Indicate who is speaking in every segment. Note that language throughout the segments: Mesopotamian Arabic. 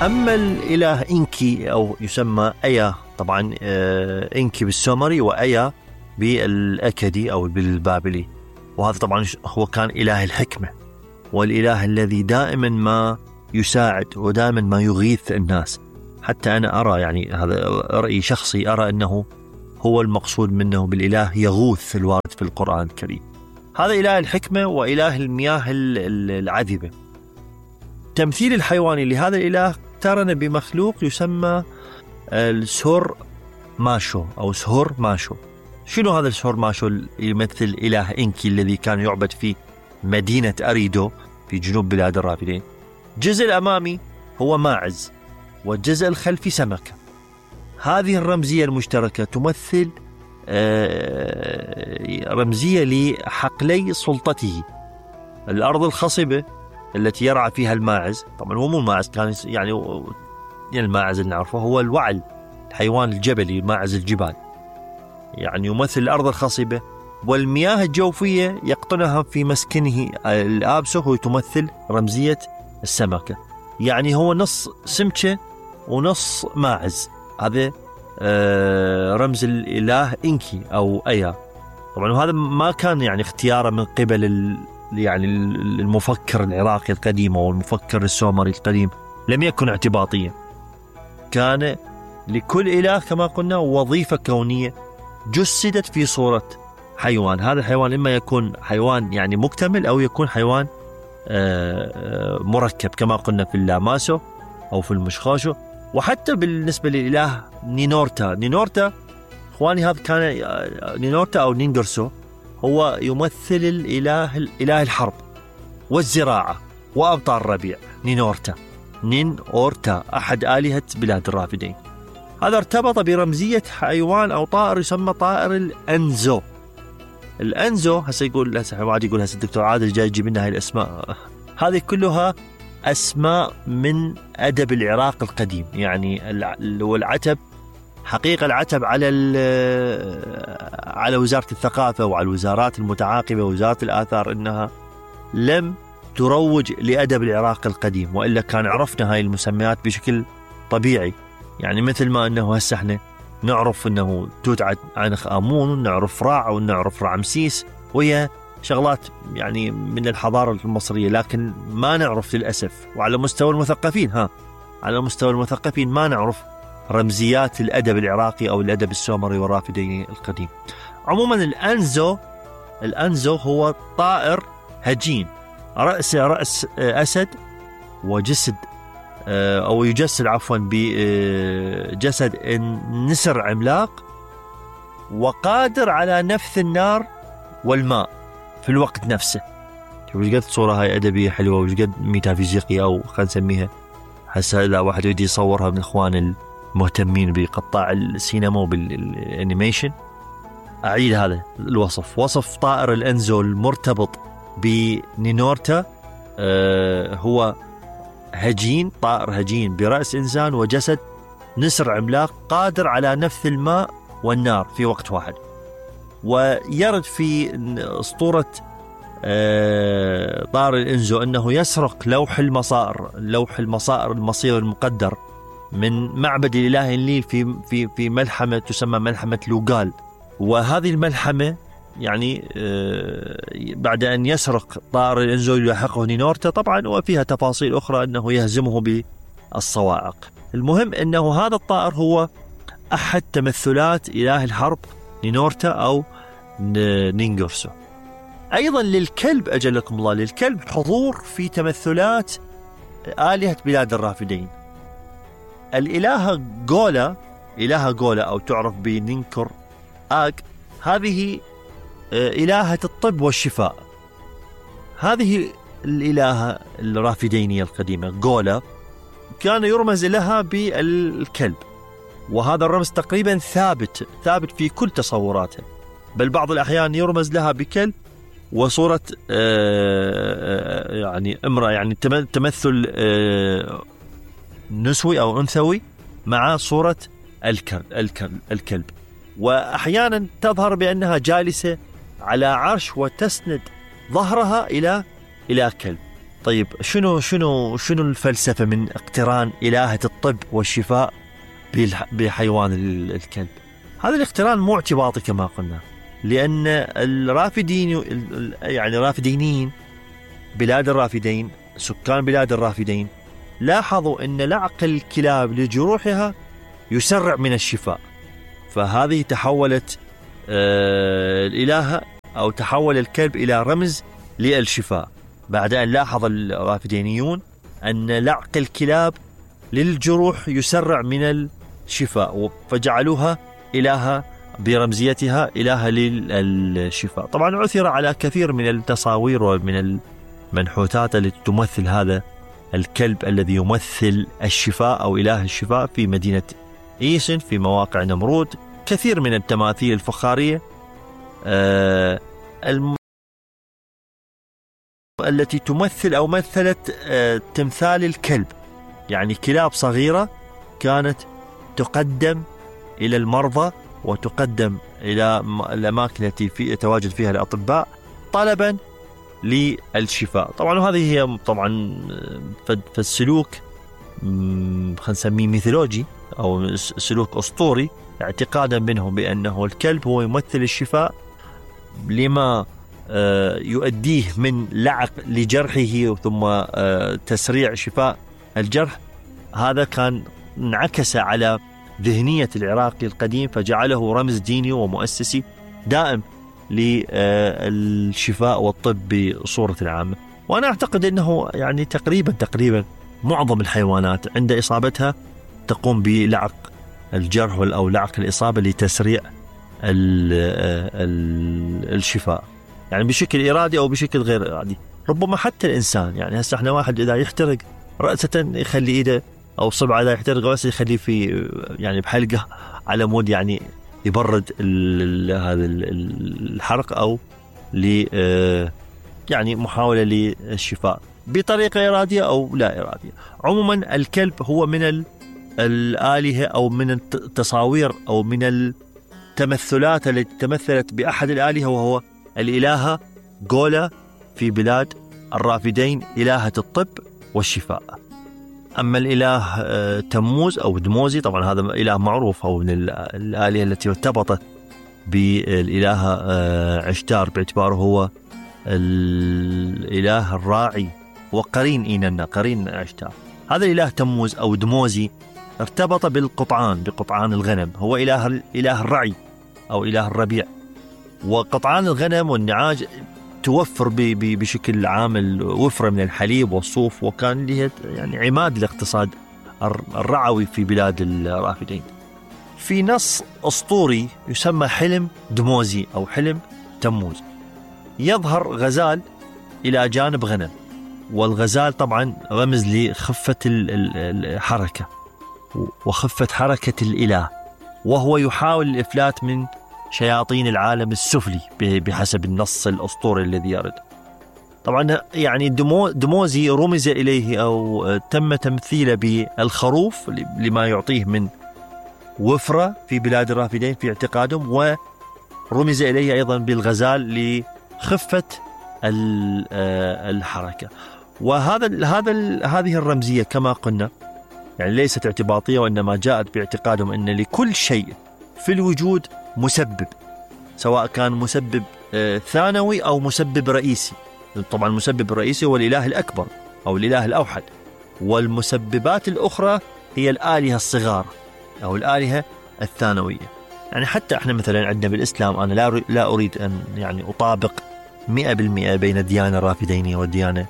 Speaker 1: أما الإله إنكي أو يسمى أيا، طبعا إنكي بالسومري وأيا بالأكدي أو بالبابلي، وهذا طبعا هو كان إله الحكمة والإله الذي دائما ما يساعد ودائما ما يغيث الناس. حتى أنا أرى، يعني هذا رأي شخصي، أرى أنه هو المقصود منه بالإله يغوث الوارد في القرآن الكريم. هذا إله الحكمة وإله المياه العذبة. تمثيل الحيواني لهذا الإله اقترن بمخلوق يسمى السور ماشو أو سهور ماشو. شنو هذا السهور ماشو؟ يمثل إله إنكي الذي كان يعبد في مدينة أريدو في جنوب بلاد الرافدين. الجزء الأمامي هو ماعز والجزء الخلفي سمكة. هذه الرمزية المشتركة تمثل رمزية لحقلي سلطته. الأرض الخصبة التي يرعى فيها الماعز، طبعا هو مو الماعز، كان يعني الماعز اللي نعرفه هو الوعل، الحيوان الجبلي، ماعز الجبال، يعني يمثل الأرض الخصبة. والمياه الجوفية يقطنها في مسكنه الآبسه، هو تمثل رمزية السمكة، يعني هو نص سمكة ونص ماعز. هذا رمز الإله إنكي أو أيا. طبعا وهذا ما كان يعني اختياره من قبل يعني المفكر العراقي القديم أو المفكر السومري القديم، لم يكن اعتباطيا، كان لكل إله كما قلنا وظيفة كونية جسدت في صورة حيوان. هذا الحيوان إما يكون حيوان يعني مكتمل أو يكون حيوان مركب كما قلنا في اللاماسو أو في المشخاشو. وحتى بالنسبة للإله نينورتا إخواني، هذا كان نينورتا أو نينجرسو، هو يمثل الإله الحرب والزراعة وأبطال الربيع. نينورتا أحد آلهة بلاد الرافدين. هذا ارتبط برمزية حيوان أو طائر يسمى طائر الأنزو. الأنزو هسه يقول هسه الدكتور عادل جاي يجيب لنا هاي الأسماء، هذه كلها أسماء من أدب العراق القديم. يعني والعتب حقيقة، العتب على وزارة الثقافة وعلى الوزارات المتعاقبة ووزارة الآثار أنها لم تروج لأدب العراق القديم، وإلا كان عرفنا هاي المسميات بشكل طبيعي. يعني مثل ما أنه هسه احنا نعرف أنه توت عنخ آمون ونعرف راع ونعرف رعمسيس، وهي شغلات يعني من الحضارة المصرية، لكن ما نعرف للأسف. وعلى مستوى المثقفين ما نعرف رمزيات الأدب العراقي أو الأدب السومري والرافدي القديم. عموما الأنزو هو طائر هجين، رأس أسد وجسد أو يجسد بجسد نسر عملاق، وقادر على نفث النار والماء في الوقت نفسه. وش قد صورة هاي أدبية حلوة، وش قد ميتافيزيقية، أو خلينا نسميها هسه إذا واحد يدي يصورها من إخوان المهتمين بقطاع السينما وبالانيميشن. أعيد هذا الوصف، وصف طائر الأنزو المرتبط بنينورتا، هو هجين، طائر هجين برأس إنسان وجسد نسر عملاق قادر على نفث الماء والنار في وقت واحد. ويرد في أسطورة طائر الأنزو أنه يسرق لوح المصائر المصير المقدر من معبد الإله النيل في ملحمة تسمى ملحمة لوغال. وهذه الملحمة يعني بعد أن يسرق طائر الأنزو يلاحقه نينورتا طبعا، وفيها تفاصيل أخرى أنه يهزمه بالصواعق. المهم أنه هذا الطائر هو أحد تمثلات إله الحرب نينورتا أو نينجرسو. أيضا للكلب أجلكم الله، للكلب حضور في تمثلات آلهة بلاد الرافدين. الإلهة غولا أو تعرف بنينكر آج، هذه إلهة الطب والشفاء. هذه الإلهة الرافدينية القديمة غولا كان يرمز لها بالكلب، وهذا الرمز تقريبا ثابت في كل تصوراتها، بل بعض الأحيان يرمز لها بكلب وصورة يعني امرأة، يعني تمثل نسوي أو أنثوي مع صورة الكلب. وأحيانا تظهر بأنها جالسة على عرش وتسند ظهرها إلى كلب. طيب شنو الفلسفة من اقتران إلهة الطب والشفاء بحيوان الكلب؟ هذا الاقتران مو اعتباطي كما قلنا، لأن الرافدين يعني الرافدينيين بلاد الرافدين، سكان بلاد الرافدين، لاحظوا أن لعق الكلاب لجروحها يسرع من الشفاء. فهذه تحولت الإلهة أو تحول الكلب إلى رمز للشفاء، بعد أن لاحظ الرافدينيون أن لعق الكلاب للجروح يسرع من الشفاء، فجعلوها إلهة برمزيتها إلهة للشفاء. طبعا عثر على كثير من التصاوير ومن المنحوتات التي تمثل هذا الكلب الذي يمثل الشفاء أو إله الشفاء في مدينة إيسن، في مواقع نمرود. كثير من التماثيل الفخارية التي تمثل أو مثلت تمثال الكلب، يعني كلاب صغيرة كانت تقدم إلى المرضى وتقدم إلى الأماكن التي يتواجد فيها الأطباء طلبا للشفاء. طبعا هذه هي طبعا فالسلوك خلينا نسميه ميثولوجي أو سلوك أسطوري، اعتقادا منهم بأنه الكلب هو يمثل الشفاء لما يؤديه من لعق لجرحه ثم تسريع شفاء الجرح. هذا كان انعكس على ذهنية العراقي القديم، فجعله رمز ديني ومؤسسي دائم للشفاء والطب بصورة عامة. وأنا أعتقد أنه يعني تقريبا معظم الحيوانات عند إصابتها تقوم بلعق الجرح أو لعق الإصابة لتسريع الشفاء، يعني بشكل إرادي أو بشكل غير إرادي. ربما حتى الإنسان، يعني هسه احنا واحد إذا يحترق رأسة يخلي إيده، أو صبعه إذا يحترق رأسه يخليه في يعني بحلقة على مود يعني يبرد هذا الحرق، أو يعني محاولة للشفاء بطريقة إرادية أو لا إرادية. عموما الكلب هو من الآلهة أو من التصاوير أو من التمثلات التي تمثلت بأحد الآلهة، وهو الإلهة غولا في بلاد الرافدين، إلهة الطب والشفاء. أما الإله تموز أو دموزي، طبعا هذا إله معروف، أو من الآلهة التي ارتبطت بالإلهة عشتار باعتباره هو الإله الراعي وقرين إيننا، قرين عشتار. هذا الإله تموز أو دموزي ارتبط بقطعان الغنم، هو إله الرعي أو إله الربيع. وقطعان الغنم والنعاج توفر بشكل عام الوفرة من الحليب والصوف، وكان له يعني عماد الاقتصاد الرعوي في بلاد الرافدين. في نص أسطوري يسمى حلم دموزي أو حلم تموز، يظهر غزال إلى جانب غنم، والغزال طبعا رمز لخفة الحركة وخفة حركة الإله، وهو يحاول الإفلات من شياطين العالم السفلي بحسب النص الأسطوري الذي يرد. طبعا يعني دموزي رمز إليه أو تم تمثيله بالخروف لما يعطيه من وفرة في بلاد الرافدين في اعتقادهم، ورمز إليه أيضا بالغزال لخفة الحركة. هذه الرمزية كما قلنا يعني ليست اعتباطية، وإنما جاءت باعتقادهم أن لكل شيء في الوجود مسبب، سواء كان مسبب ثانوي أو مسبب رئيسي. طبعا المسبب الرئيسي هو الإله الأكبر أو الإله الأوحد، والمسببات الأخرى هي الآلهة الصغار أو الآلهة الثانوية. يعني حتى احنا مثلا عندنا بالإسلام، أنا لا أريد أن يعني أطابق 100% بين الديانة الرافدينية والديانة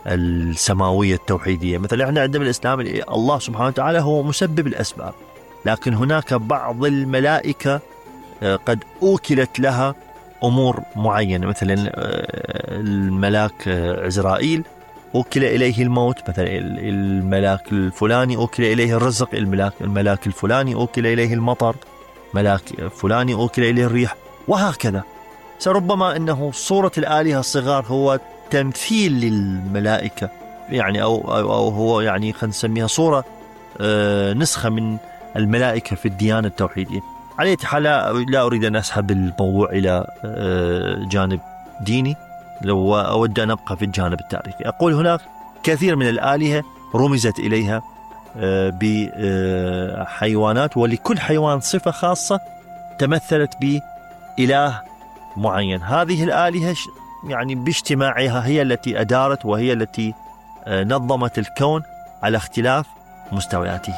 Speaker 1: السماوية التوحيدية. مثلا احنا عندنا بالإسلام الله سبحانه وتعالى هو مسبب الأسباب، لكن هناك بعض الملائكة قد أوكلت لها أمور معينة. مثلا الملاك عزرائيل أوكل إليه الموت، مثلا الملاك الفلاني أوكل إليه الرزق، الملاك الفلاني أوكل إليه المطر، ملاك فلاني أوكل إليه الريح، وهكذا. فربما أنه صورة الآلهة الصغار هو تمثيل للملائكة، يعني أو هو يعني خلينا نسميها صورة نسخة من الملائكة في الديانة التوحيدية. على أي حال لا أريد أن أسحب الموضوع إلى جانب ديني، لو أود أن أبقى في الجانب التاريخي، أقول هناك كثير من الآلهة رمزت إليها بحيوانات، ولكل حيوان صفة خاصة تمثلت بإله معين. هذه الآلهة يعني باجتماعها هي التي أدارت وهي التي نظمت الكون على اختلاف مستوياته.